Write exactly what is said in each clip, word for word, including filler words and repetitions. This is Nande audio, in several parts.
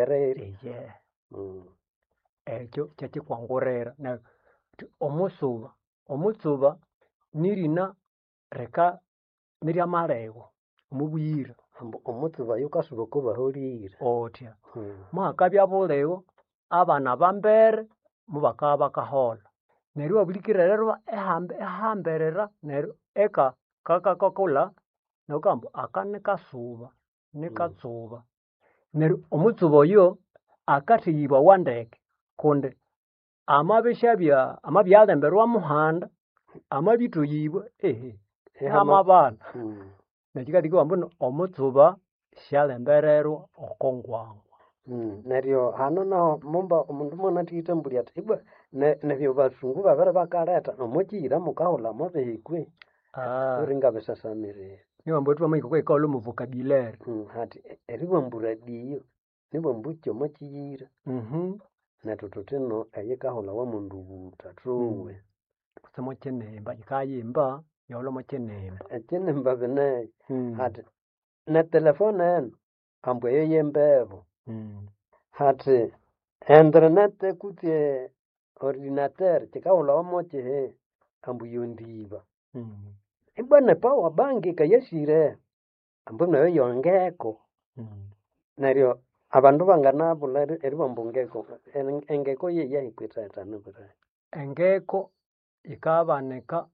Ereri. Eyehe Mm. Ekyo kyekikwangurira neryo thuthi omutsuba, omutsuba nirina rika niryamalhego omobuyira. Ambu omutsuba yukasuba oko baholire. Othya Mm. muhakabya bulhego abana bambere mubakabya bakaholha. Neryo iwabulikirererwa ihamba ihamberera neryo eka kakakakolha neryo wukabugha ambu aka nikasuba, nikatsuba. Neryo omutsuba oyo akatheyibawa ndeke kundi amabishabya amabyalemberwa muhanda, amabithoyibwa ehe ihamabana. Mm. Nekikalheka ibabugha ambu omutsuba syalembererwa oko ngwangwa. Mm. Neryo hano naho mumba omundu mwanathighitambulya athi ibwa ne- nebyo basungu babiribakalhetha omokiyira mukahulha mobihi kwe? Wulingabisasamirira. Nibabugha ambu thwamahika okwahikaghulhu omo vocabulary. Mm, hathi eribugha radio nibughambu kyomokiyira. Nethu thuthino eyikahulhawa mwendubutha thuwe. Kutse mokinimba yikayimba yahulha mokinimba. Ekinimba bineyo hathi netelefone eno ambu eyo yembeho. Hathi internet kutse ordinateur kikahulhawa mokihi ambu yondiba. Ibwa ne power bank yikayasire ambu nayo yongeko. Neryo abandu banganabulha eribugha ambu ngeko, engeko yeyahi kwithathana bwera? Engeko yikabanika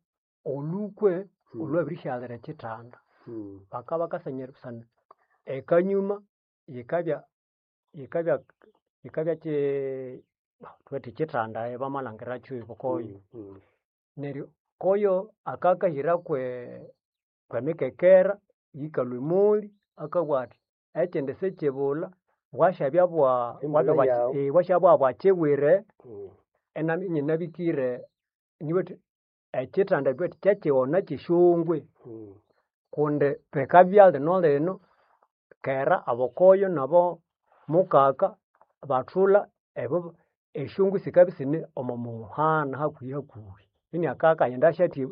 olhukwe olhwabirisyalira ekithanda. Bakabya bakasanya busana ekanyuma yikabya yikabya yikabya kyi thubuthi kithanda bamalhangiracho koyo. Neryo koyo akakahira kwe kwemikekera yikalhwa emoli akabugha athi ekindi sikyibulha bwasyabya bwa Embulha yawu. bwasyabya bwakibwire inabya inyinabikire nibughathi ekithanda thubuthi kyekighona kyesyongwe kundi bikabya linolino kera abokoyo nabo mukaka bathulha ebo esyongwe sikabya isine omo muhana hakuhi hakuhi. Iniakabya akaghenda asyathi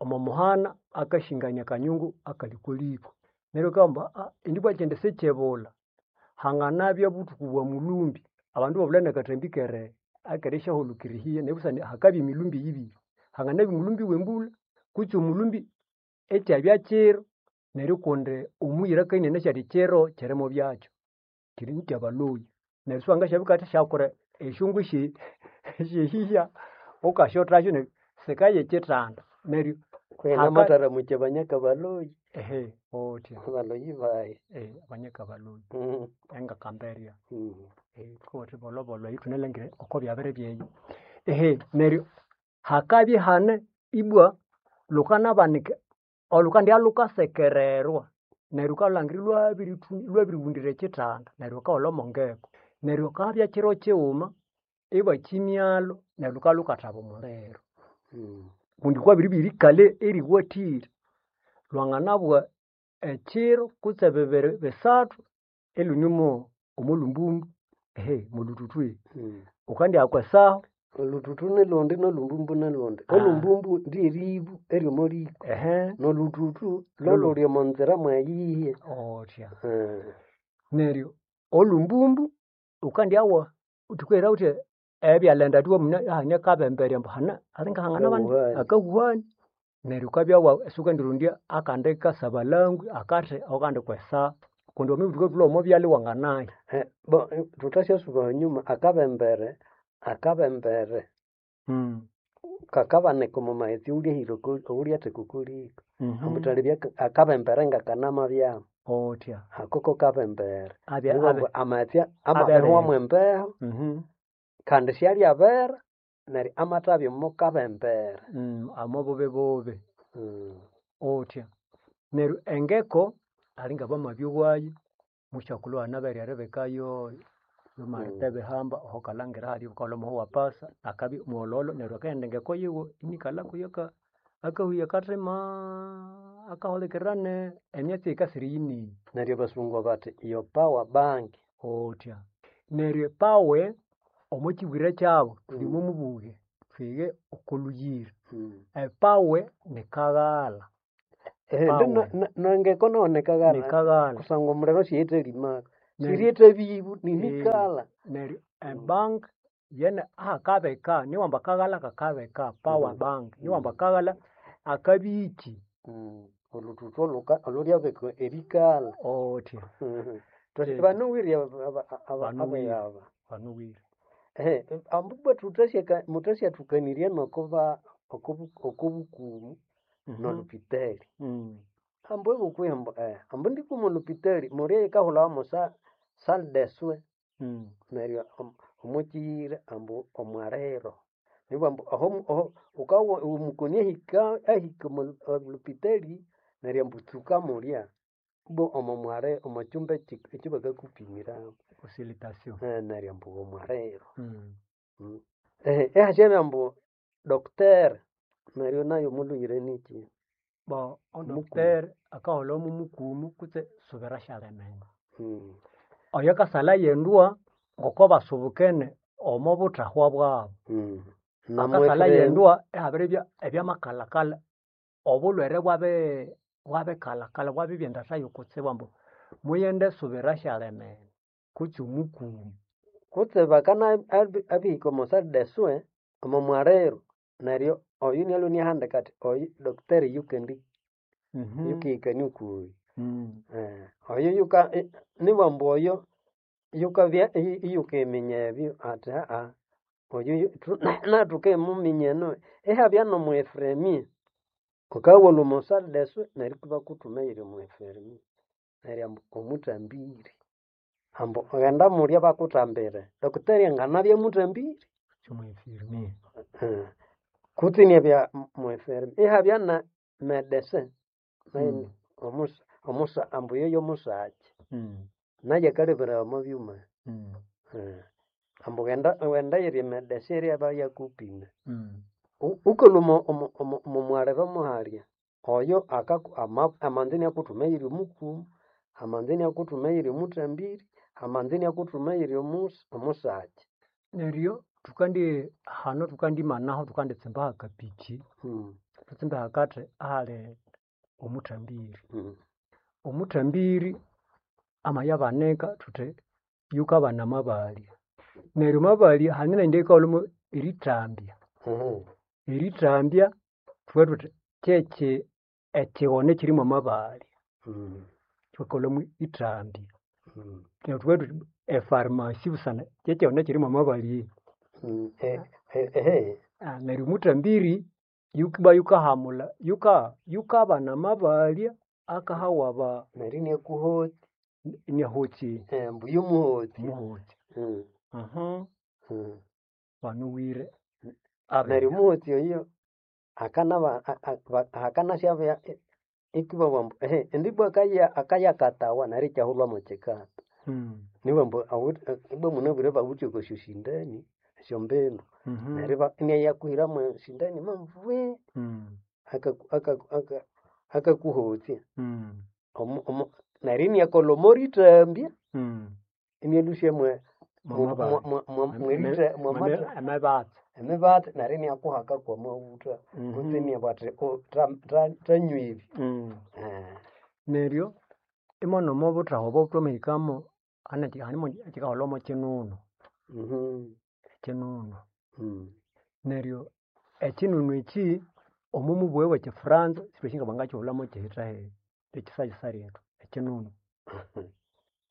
omo muhana akashingania akanyungu akali okwa liko. Neryo wukabugha ambu indi bwa ekindi sikyibulha hanganabya buthuku bwa mulhumbi abandu ibabulha nakathambi kere akerisyahulikira ehiya neryo busana hakabya emilhumbi yibiri. Hanganabya omulhumbi wembulha kutse omulhumbi ikyabya kiro neryo kundi omuyira akabya inanasi athi kiro kiri mobyakyo, kiri mukyabalhoyi. Neryo siwangasyabya wukathasyakola esyongwe esye esyehiya wukasyothasyo neryo sikaya ekithanda neryo Kwihi haka namatharamukya banyakabaloyi. Ehe othya. Abaloyi bayi. Abanyakabalhoyi engakamberya. Thukabuga thuthi bolhobolho ithunalangire oko byabiribya eyo. Ehe neryo hakabya ihane ibwa lhukanabanika olhukandibya lhukasekererwa neryo wukalhangira ilhwabirithi ilhwabirighundira ekithanda neryo wukahulha omongeko. Neryo hakabya kiro kighuma ibakimyalho neryo lhukabya lhukathaba omuliro. Kundi kwabiribya erikalha eriwathire. Lwanganabugha ekiro kutse bibiri bisathu ilhune omolhumbumbu molhuthuthu wukandya kwesahu. Olhuthuthu nilhundi nolhumbumbu nilhundi. Olhumbumbu ryeribu eryomoliko nolhuthuthu lholhuli omonzira mweyihi. Othya. Neryo olhumbumbu wukandyawa thukaghira thuthi ebyalenda thuwaminye ihane akabemberya ambu hane alingahangana akahuhani. Neryo wukabya isiwukandirondya akandi kasabalangwe akathi akandi kwesa kundi wamabugha wuthi wukalhwa omo byalha iwanganaya. Bo thuthasyasuba ahanyuma akabembere akabembere kakabanika omo maghetse awulyahira awulyatheka oko liko. Ambu thalebya akabembere ngakanamabyamu. Othya. Ako kokabembere. Abya Neribugha ambu amaghetse abya amabirihwamu embeho kandi syalyabera neryo amathabya omo kabembere. Omo bubibubi. Othya. Neryo engeko alinga bamabyowayo musyakulhu anabere eribikayo yomalita ebihamba ahukalhangira halya wukaghulha omuhu wapasa akabya mwolholo neryo akaghenda engeko yiwe inikalha kuyo akahuya akathimaa akahulikirira ne emyatsi eyikasira eyinene. Neryo abasungu bathi your power bank. Othya. Neryo epower omo kibwire kyabu thuli omo mubughwe thwighe oko lhuyira. Epower nikaghalha. Nengeko nayo nikaghalha Nikaghalha. kusangwa omuliro siyithalimaka. Sirietha bibu ninikala. Neryo ebank yene ahakabeka niwamba akaghalha kakabeka power Mm. bank niwamba akaghalha akabiki Mm. Oluthuthu oluka olulyabeka erikala. otya Thuthi Eh. banuwire aba- aba- aba- Banuwire. abayaba. banuwire Ehe, ambubwa thuthasya muthasyathukanirie nokuba okubu okubukumu nolupitali. Mm. Ambu ebukwihi ambu eh, ambu ndikuma olupitali mulya yikahulhawa mo sa salle de soins Mm. neryo omu- omukyiyira ambu omwaliro. Nibwa ambu aho aho wukawa omukoni ahika ahika omo olupitali neryo ambu tsuka mulya ibwa omo mwali omo kyumba eki ekyabakakupimiramu. Consultation. Eh, neryo ambu omwaliro. Mm. Mm. Ehe, ehasyabya ambu docteur neryo nayo mulhuyire nikyi? Bo Mukumu. odocteur akaholha mumukumu kutse subira syalimene. Mm. Oyo akasalha yendwa ngoko basubukene omo buthahwa bwabu. Mm. Akasalha Namwefre yendwa ihabiribya ebyamakalhakalha obulhwere bwabi bwabikalhakalha bwabibya endatha yokutsibu ambu muyende subira syalimene kutse omukumu. Kutse bakana abi- abihika omo salle de soins omo mwaliro neryo oyu nialwe iniahandika athi oyu docteur yukendi Mhm. yukihikania okuyu. Mm. Eh, oyo yuka i- nibwa ambu oyo yukabya i- iyukiminya ebyo athi aa oyu yu- thu- nathukimuminya eno ihabya nomwefremie wukawalhwa omo salle de soins neryo ibakuthuma eyiri omwefremie neryo ambu omuthambiri ambu ghenda mulya bakuthambire docteur anganabya muthambiri Omwefirmie. Eh, kutse inabya mwefremie ihabya na medecin nayo Mm. omusa omusa ambu yoyo musakyi Mm. nayo akaleberawa omo byuma Mm. Eh, ambu ghenda ghenda eyiri medecin eryaba yakupima Mm. U- wukalhwa omo omo omo omo mwaliro muhalya oyo akaku ama amanza iniakuthuma eyiri omukumu amanza iniakuthuma eyiri omuthambiri amanza iniakuthuma eyiri omusa omusakyi. Neryo thukandi hano thukandimanaho thukanditsimba hakapiki Mm. thutsimbe hakathi ahali omuthambiri. Mm. Omuthambiri amayabanika thuthi yukabana amabalya. Neryo amabalya hane neyindi eyikaghulhamu erithambya. Mhm. Erithambya thubughe thuthi kyekyi ekighona ekyiri mwamabalya. Mm. Thwakaghulhamu ithambya. Mm. Neryo thubughe thuthi epharmacy busana kyekighona ekyiri mwamabalya. Mm. E- e- ehe. Neryo omuthambiri yukibwa yukahamulha yuka yukabana amabalya akahawa aba Neryo iniakuhotya iniahokya eh, ambu yomuhotya. omuhokya. Mm. Mhm. Mm. Banuwire Neryo abeya. omuhotya oyo akanaba a- a- ba- akanasyabya ikibabugha ambu ehe indi ibwa akaya akayakatawa neryo ikyahulhwa mwekikata. Mm. Nibwa ambu awithe ibwa munabwire bawithe oko syoshindani esyombindu Mhm. neryo iba iniayakuhiramu esindani mambuwe Mm. akaku akaku aka akakuhotya Mm. omu omu neryo iniakolha omorithambya Mm. inialhusya mwe Mwamabalya. mweritha mwamatha Emibatsi. emibatsi neryo iniakuhaka kwamawutha kutse Mhm. iniabugha athi "Oh, tha- tha- thanywa ebi. Mm. Eh, Neryo imono omo buthahwa obo thwamahikamo hane hanimo ekikaholha mo kinunu, mhm, ekinunu. mm. Neryo ekinunu eki omo mubughe bwe kifranza sithwasi nga bangakighulhamo kihithahi ekisayisa lyethu ekinunu.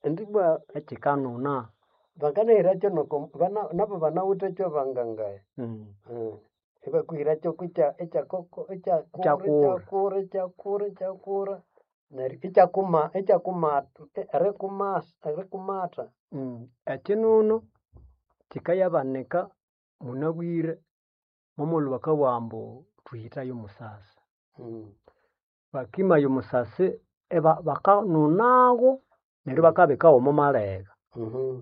Indi ibwa Ekikanuna. bakanahiracho noko bana nabo banawithekyo bangangaya. Mm. Mm. Ibakuhiracho kukya ekyakoko ekyakura Ekyakura. ekyakura ekyakura ekyakura neryo ikyakuma ikyakumata erikumasa erikumata. Mm. Ekinunu kikayabanika munabwire momulhu bakabugha ambu thuhithaye omusasi. Mm. Bakimaya omusasi iba bakanunagho neryo bakabikawo omo malegha. Mhm.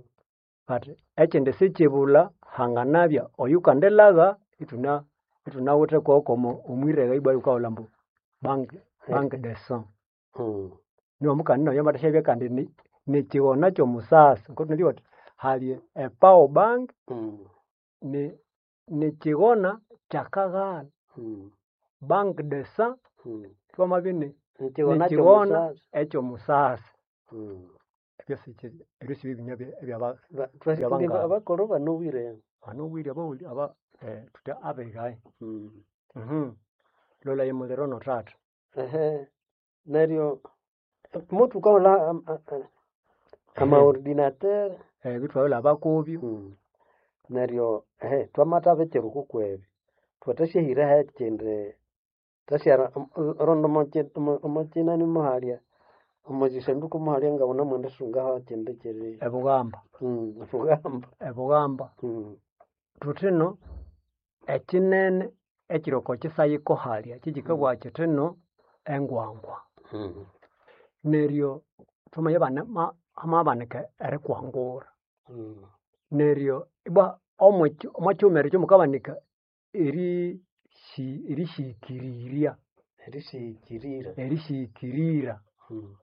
Bathi ekindi sikyibulha hanganabya oyukandilagha ithuna ithunawithe koko omwiregha ibwa yukahulha ambu bank bank de sang. Mm. Niwamukandi nayo amathasyabya kandi ni nikighona kyomusasi ngoku thunabwire thuthi hali e power bank Mm. ni nikighona kyakaghalha. Mm. Bank de sang Mm. twamabya ini Nikighona nikighona kyomusasi. ekyomusasi. Mm. Ebyo si- ebyo sibibinywa ebyaba Ba- twasi- Byabangama. abakoro banowire banowire abawuli aba eh, thuthi abigayi. Mm. Mhm. Lola emuliro no thatha. Ehe neryo mutukaghulha am- a- a- amaordinateur Ebyo thwabirikolha kubyo. Mm. Neryo ehe twamathabikira okwa kwebyo thwathasyahiraho ekindi thasyara rundi omo kinani muhalya omo kyisanduku muhalya ngawunamwendisungaho ekyindi kiri Ebughamba. Mm, bughamba Ebughamba. Mm. Thuthino ekyinene ekyiri oko kyisayiko halya kyekyikabugha kyithino engwangwa. Mm. Neryo thwamabya ibane ma- hamabanika erikwangura. Mm. Neryo ibwa omwekyi omwakyighumerero ekyomukabanika erisi erisihikirirya Erisighikirira erisighikirira Mm.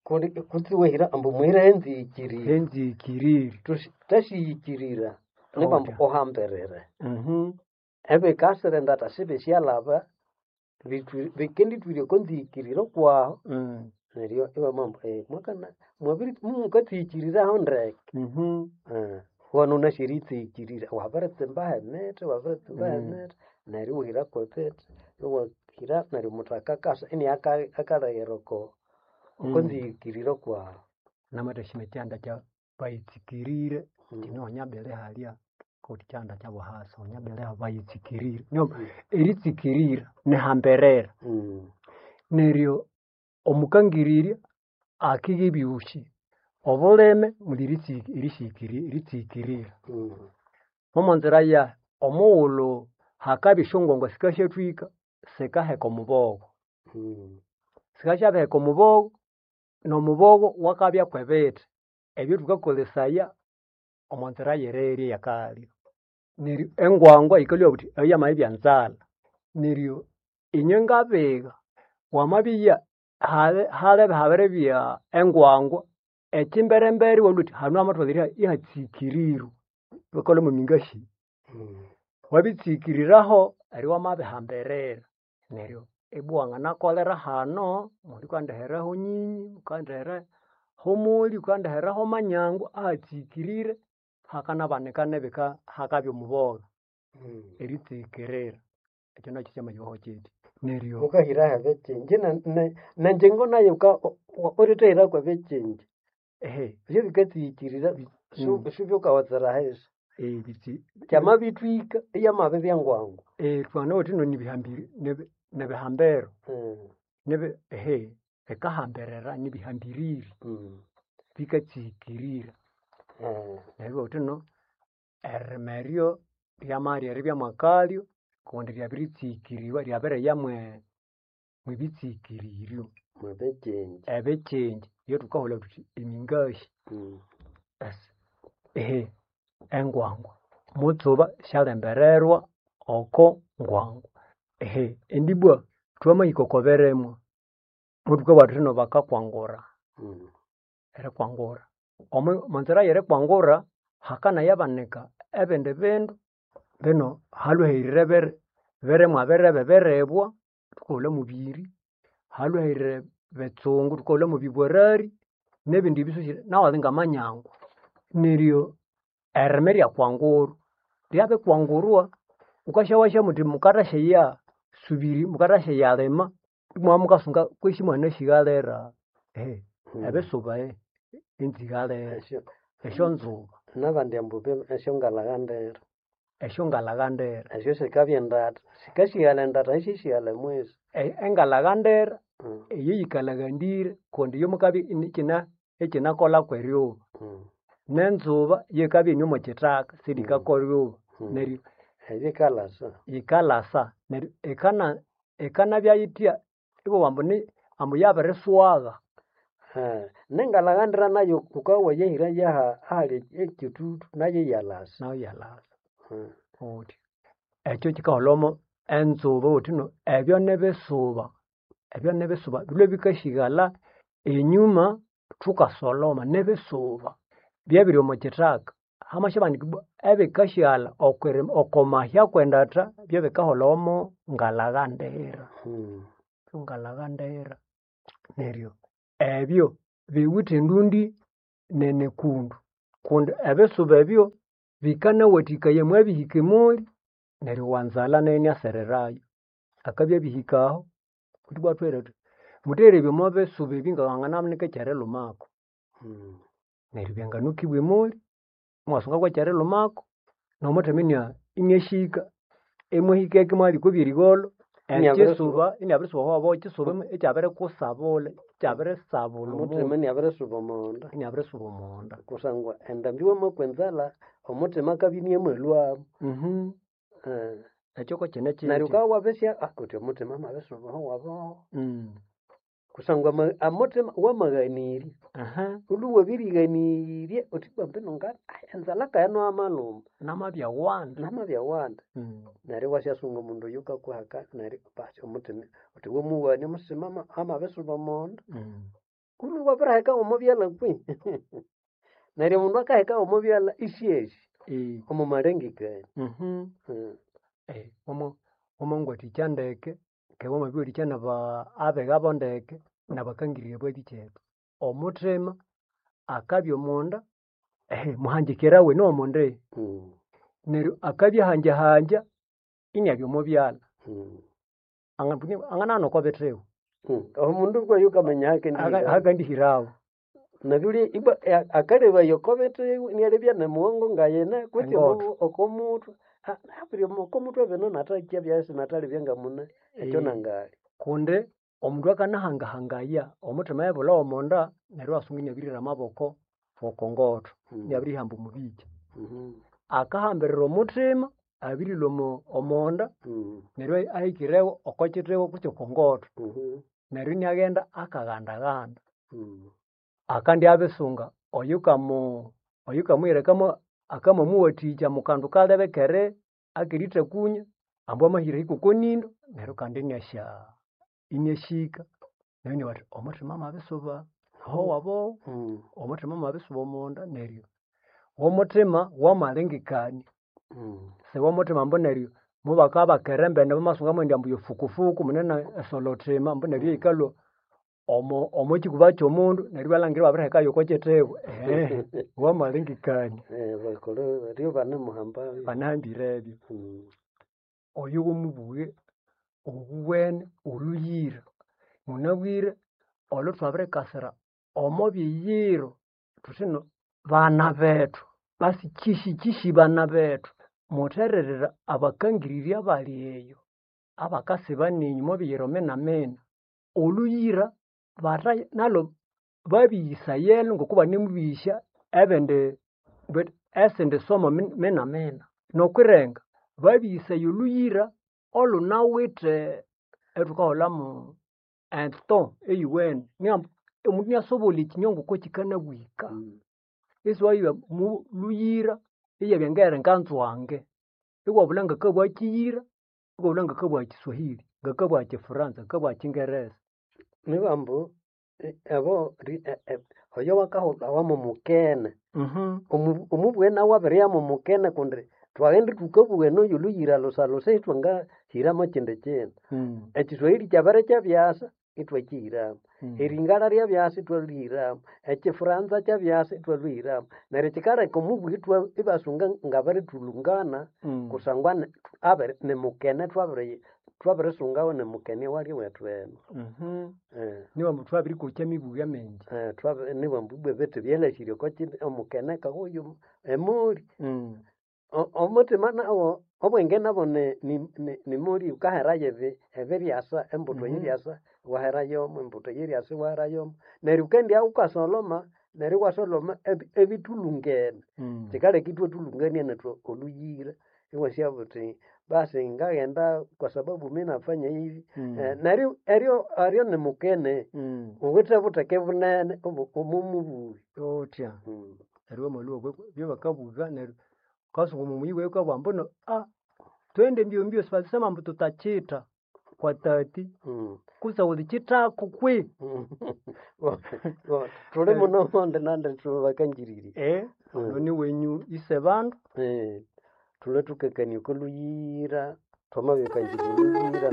Kundi kutse iwahira ambu muhire enzihikirire enzihikirire. Thusi- thasihikirira nibambu Otya. uhambirire Mhm. ebikasira endatha sibisyalhaba bitwi- bikendithwirya oko nzihikirire kwahu Mm. neryo ibamwamba eh, mwakana mwabiri mumukatsihikiriraho ndeke Mhm. Eh, wano wunasi eritsihikirira wabiritsimbaho emithi wabiritsimbaho Mm. emithi neryo iwahira kwebithi iwahira neryo omuthaka akasa ini aka- akalheghera oko oko Mm. nzihikirire kwahu Namathasyima ekyanda kya bayitsikirire Mm. kino onyabere halya kuti kyanda kyabuhasa onyabere bayitsikirire. Nyo Mm. eritsikirira nihamberera. Mm. Neryo omukangirirya akigha ebyusi. Obulime muli eritsi- erihikiri eritsikirira. Mm. Momonzira yahi omughulhu hakabya esyongwangwa sikasyathwika sikaheka omubogho. Mm. Sikasyabiheka omubogho n'omubogho wakabya kwebithi ebyo thukakolesaya omo nzira y'erirya ey'akalya. Neryo engwangwa yikalhwa buthi eyo yamabya nzalha. Neryo inywe ngabigha wamabya hali halebe habiribya engwangwa ekyimberembere iwalhwa wuthi hanu hamatholere ihatsikirirwe bakalhwa mwamingashi. Mm. Wabitsikiriraho neryo iwamabihambirira neryo ibwa wanganakolera hano muli wukandiheraho nyinyi, wukandiheraho moli, wukandiheraho manyangu ahatsikirire hakanabanika nebika hakabya omubogha Mm. eritsikirira. Ekyo nakyo kyamayoho kyitya. Neryo Wukahiraho ebikyinji ne- ne- nenjingo nayo wuka- ulithahirako ebikyinji ehe ebyo bikatsihikirira su- Mm. subyukawatsira ahisi ebitsi kyamabithwika iyamabibya ngwangu eh thwanawithe ino nibihambiri nibi- nibihambero Mm. nibi ehe bikahambirira nibihambiriri Mm. bikatsikirira. Eh. Neryo iwabugha wuthi no eririma eryo ryamalya eribya mwakalyo kundi ryabiritsikiriwa ryabiriya mwe mwebitsikiririo Mwebikyinji ebikyinji ebyathukaghulha thuthi emingashi. Mm. Esi ehe engwangwa mutsuba syalembererwa oko ngwangwa. Ehe indi ibwa thwamahika oko birimwa muthukabugha thuthi ino bakakwangura Mm. erikwangura. Omu omonzira y'erikwangura hakanayabanika ebindi bindu bino halhwahirire biri birimwa birebe biribwa thukaghulha mubiri, halhwahirire bitsungu thukaghulha mubibwarari nebindi ebisusu nawali ngamanyangwa. Neryo eririma eryakwangurwa ryabikwangurwa wukasyaghasya muthi mukathasya subiri mukathasya imwabya mukasunga kwesi imwanganasighalira ehe Mm. ebisuba enzighalira Esyo esyonzuba nabandi ambu be- esyongalaghandira esyongalaghandira. esyo sikabya endatha sikasighalha endatha isisighalha emwisi E- Engalaghandira Mm. eyo yikalaghandire kundi iyo mukabya inikina ikyinakolha kweryuba. Mm. Nenzuba yikabya ine omo kyithaka sirikakwa eryuba Mm. neryo Eyikalasa yikalasa neryo ikana ikanabya yithya ibabugha ambu ni ambu yabiriswagha. Eh, nengalaghandira nayo wukabya wayahira yaha ahali ekyithuthu nayo iyalasa Nayo iyalasa Mm. wuthi. Ekyo kyikaholhamo enzuba wuthi no ebyo nibisuba ebyo nibisuba bilhwe bikasighalha enyuma thukasoloma nibisuba byabiri omo kyithaka. Hamasyabanika ibwa ebikasighalha okwirima oko mahya kwendatha byebikaholhamo ngalaghandira Mm. ngalaghandira. Neryo ebyo biwithe endundi Nenekundu kundi ebisuba ebyo bikanawathikaya mwabihika emoli neryo owanzalha nayo iniasererayo. Akabya abihika aho ithwibwa ithwababwira thuthi mutherebye omwa bisuba ebi ngawangananika ekyerilhumako. Neryo byanganukibwa emoli, imwasunga kwekyerilhumako nomuthima inia iniahika. Imwahikeko imwalya okwa byerigholho Iniabirisuba ekyisuba iniabirisuba owaboho ekyisuba ikyabirikusabulha ikyabirisabulha omuthima omundu iniabirisuba omonda iniabirisuba omonda. Kusangwa endambi wamakwa enzalha omuthima akabya iniamalhwamu. Eh, Ekyo kokyine neryo kyitya. wukabya wabisya wuthi omuthima amabisuba owaboho Mm. kusangwa ama- amuthima wamaghanirya Aha. wulhwe wabirighanirya wuthi ibwa mbino nga enzalha kayino yamalhuma Namabya wanda. namabya wanda Mm. neryo iwasyasunga omundu oyukakuhaka neryo basi omuthima wuthi wamuwana omuthima ama- amabisuba omonda Mm. wulhwe wabiriheka omo byalha kwi neryo omundu akaheka omo byalha isyasi Eh. omo malengekania. Mhm. Mm. Eh, wama wamangwathikya ndeke keghe wamabiwathikya naba abegha bo ndeke nabakangirya abalikyetu. Omuthima akabya omonda ehe muhangikirawe niwomonde Mm. neryo akabya ahanjahanja iniabya omo byalha. Mm. Anganahana okwa bithiwa. Mm. Omundu kwa yukamenya hakendihirawo. Hakandihirawo. Nabuli ibwa akalebaya oko bithiwa inialebya nemughongo ngayina kutse Engotho. oko muthwe abiri oko muthwe bino nathakyabya sinathalebya ngamune ekyo Eh. nangali. Kundi omundu akanahangahangaya omuthima yabulha omonda neryo iwasunga iniabirihira amaboko oko ngotho Mm. iniabirihamba omubikya. Mhm. Akahambirira omuthima abirilhwa omo omonda Mm. neryo ahikirewo oko kithiwa kutse oko ngotho Mhm. neryo iniaghenda akagandaganda. Mm. Akandya abisunga oyukamu oyukamuhira akama akamamuwathikya mukandu kalebe kere akerithakunya ambu amahira ahike oko nindo neryo kandi iniasya iniasyahika. Neryo inabugha athi omuthima amabisuba owaboho, Mm. omuthima amabisuba omonda neryo womuthima wamalengekania. Mm. Siwomuthima ambu neryo mubakabakera embene bamasunga indi ambu yofukufuku munene esolothima ambu neryo eyikalhwa omo omokikuba kyomundu neryo ibalhangira ibabirihekayo oko kithiwa ehe wamalengekania. Eh, bakolho baryo banemuhamba. Banahambire ebyo. Mm. Oyo womubughe obuwene olhuyira. Munabwire olhuthwabirikasira omo biyiro thuthi ino bana bethu basi kyishikyishi bana bethu muthererera abakangirirya abali eyo abakasiba ninyu omo biyiro minamina. Olhuyira batha nalhu babiyisayelo ngoku banemubigisya ebindi esindi somo minamina. Nokwirenga babiyisaya olhuyira olhunawithe ethukahulhamu eto eyuwene nihambu omundu iniasobolha ekinywa ngoko kikanabwika. Mm. Isiwayibya mu lhuyira iyabya ngeyiri nganzwange. Iwabulha ngakabugha kiyira, iwabulha ngakabugha kiswahili, ngakabugha kifuranza, ngakabugha kingereza. Nibambu abo oyo wakahulhawa mumukene Mhm. omu omubughe nawu abiriya mumukene kundi thwaghenda thukabugha eno yolhuyira lhusalhusa ithwangahiramo kyindi kindu. Mm. Ekiswahili kyabirikyabyasa ithwakyihiramu, Mm. eringala ryabyasa ithwalhuhiramu, ekifuranza kyabyasa ithwalhuhiramu. Neryo kyikaleka omubughe ithwa ibasunga ngabirithulhungana Mm. kusangwa ni abiri nimukene thwabiri thwabirisungawo nimukene owali wethu eno. Mhm. Eh. Niwambu thwabirikokya emibughe mingi. Eh, thwabi nibambu ibwa ebithi byalhasire oko kyindi omukene kahuyu emoli. Mm. O- omuthima nawo obwenge nabo ni- ni- ni- nimoli wukaherayo ebi ebiryasa embuthu Mhm. eyiryasa iwaherayomo embuthu eyiryasa iwaherayomo neryo wukendya wukasoloma neryo iwasoloma ebi- ebithulhungene. Mm. Kyikaleka ithwathulhungania nethu olhuyira iwasyabugha wuthi basi ngaghenda kwa sababu minafanya hivi. Mm. Eh, neryo eryo eryo nimukene Mm. wuwithe butheke bunene obo omomubughe. Wuthya Mm. neryo wamalhwa okwa byabakabugha neryo wukasunga omo muyi wewe wukabugha ambu ah twende mbyo mbyo sibalisema ambu tutachita kwa tati Mm. kutse wulichithako kwi. Thuli muno monde nandi thubakangiriri. Eh, ono niwenyu ise bandu. Eh, thulwe thukakania oko lhuyira thwamabikangirirya olhuyira.